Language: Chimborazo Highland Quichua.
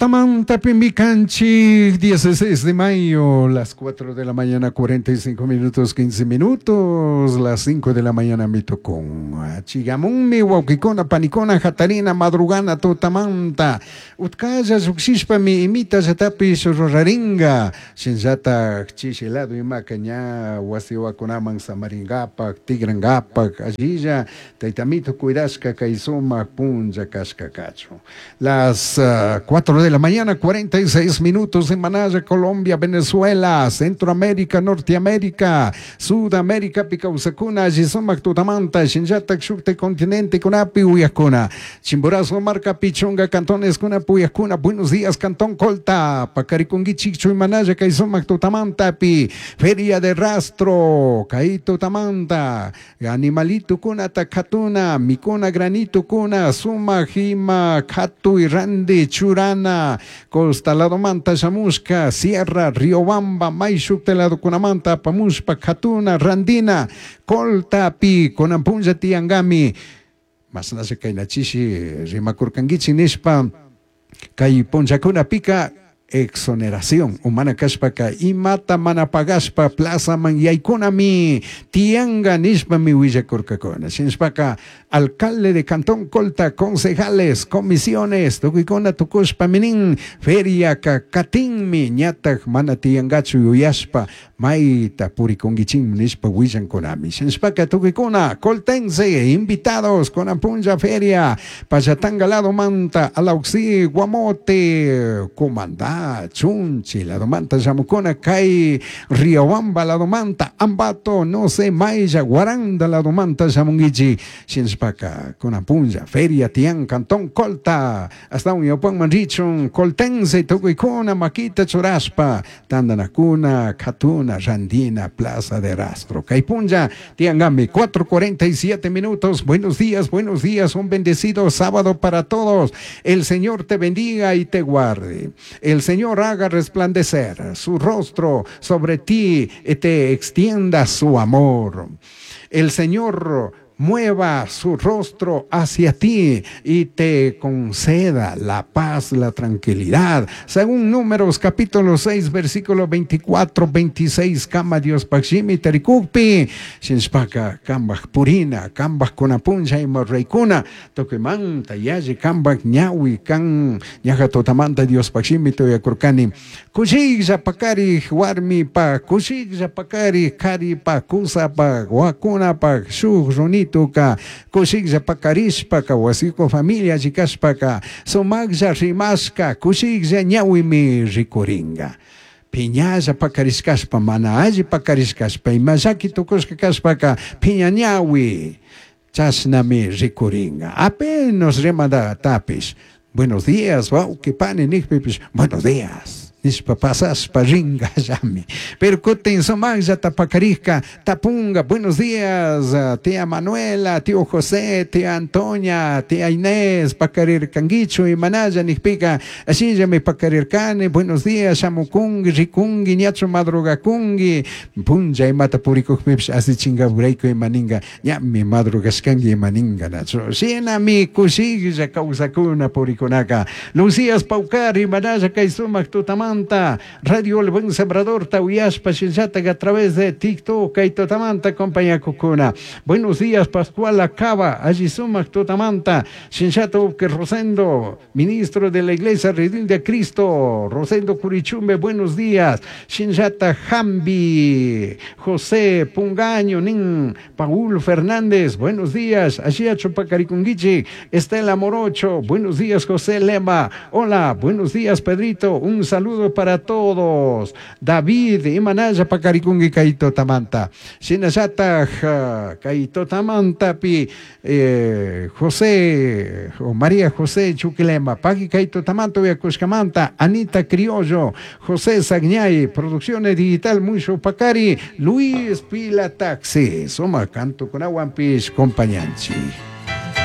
Tamantapimi canchik, 16 de mayo, las 4 de la mañana, 45 minutos, 15 minutos, las 5 de la mañana mi tocón. Chigamunmi, wawkikuna, panikuna, hatarina, madrugana, tutamanta. Utkalla llukshishpami imita llatapish ruraringa. Shinallatak chishi lado imaka ña wasiwakunaman samaringapak, tigrangapak, allilla taytamito cuidashka kay sumak punlla kashka kachun. Las 4 de la mañana, 46 minutos en Manaya, Colombia, Venezuela, Centroamérica, Norteamérica, Sudamérica, kawsakuna, alli sumak tutamanta, shinallatak shukta continente kunapi uyakuna. Chimborazo markapi chunga cantones kunapi uyakuna. Buenos días, Cantón Colta, Pacarikunguichik, Manaya, kay sumak tutamantapi, Feria de Rastro, kay tutamanta, animalito kunata katuna, mikuna granito kuna, sumak ima katuy randi churana, costa ladomanta shamushka, Sierra, Riobamba, Mayshukta ladokunamanta, pamushpa katuna, randina, Coltapi, kunan punlla tiyangami, mashnalla kaynachishi rimakurkankichik nishpa, kay punllakunapika exoneración humana kashpaka imata mana pagashpa plazaman yaykunami tiyanga nishpami willakurkakuna shinashpaka alcalde de Cantón Colta, concejales, comisiones, tukuykuna tukushpami nin feriaka katinmi ñatak mana tiyangachu yuyashpa mayta purikunkichikmi nishpa willankunami shinashpaka tukuykuna coltense invitados kunan punlla feria Pallatanga ladomanta Alauxi Guamote Comandá Chunchi ladomanta shamukuna kay Riobamba ladomanta Ambato no sé Maya Guaranda ladomanta shamunkichik shinashpaka kunan punlla feria tiyan Cantón Colta hasta un ñawpanman richun coltense tukuykuna makita churashpa tandanakuna katuna randina Plaza de Rastro kay punlla tiyankami 4:47 minutos. Buenos días, buenos días, un bendecido sábado para todos. El Señor te bendiga y te guarde. El Señor haga resplandecer su rostro sobre ti y te extienda su amor. El Señor mueva su rostro hacia ti y te conceda la paz, la tranquilidad. Según Números capítulo 6, versículo 24, 26, kama Diospaj shimi tarikukpi, shinashpaka kambaj purina, kambaj kunapunlla ima ruraykuna, tukuymanta yalli kambaj ñawi kan, ñaja tutamanta Diospaj shimita uyakurkani. Kushiklla pakarij warmipaj, kushiklla pakarij karipaj, kusapaj, wakunapaj, shuk runituka, kushiklla pakarishpaka, wasiko familia alli sumaqlla rimashka, kushiklla ñawimi rikuringa. Piñalla pakarishkashpa, mana alli pakarishkashpa, ima llaki tukushka kashpaka, piña ñawi, chashnami rikuringa. Apenas rimadatapish, buenos días, wawqi pani nikpipish, buenos días. Nishpa pasashpa ringallami. Pero kutin sumaqllata pakarijka tapunga, buenos días, tía Manuela, tío José, tía Antonia, tía Inés, pakarirkankichu imanalla nikpika, ashillami pakarirkani, buenos días, shamukungi, rikungi, ñachu madrugakungi, punlla imata purikukpipish asichinkaburayku imaninga, ñami madrugashkanki imaninga, nachu. Shinami kushiklla kawsakuna purikunaka. Lucías Paucar, imanalla kay sumak tutamanta, Radio El Buen Sembrador uyashpa shinllatak a través de TikTok kay tutamanta compañakukuna. Buenos días, Pascual Acaba, alli sumak tutamanta, shinllata uke Rosendo, ministro de la Iglesia Redil de Cristo, Rosendo Curichumbe, buenos días, shinllata Jambi, José Pungaño, nin Paul Fernández, buenos días, Ashia Chupacarikunguichi, Estela Morocho, buenos días, José Lema, hola, buenos días, Pedrito, un saludo para todos. David, imanalla pakarikunki kay tutamanta. Shinallataj kay tutamantapi José o María José Chuquilema, paki kay tutamanta uyakushkamanta, Anita Criollo, José Sagñay, Producciones Digital Musho Pakari, Luis Pila Taxi, suma canto kunawanpish compañanchi.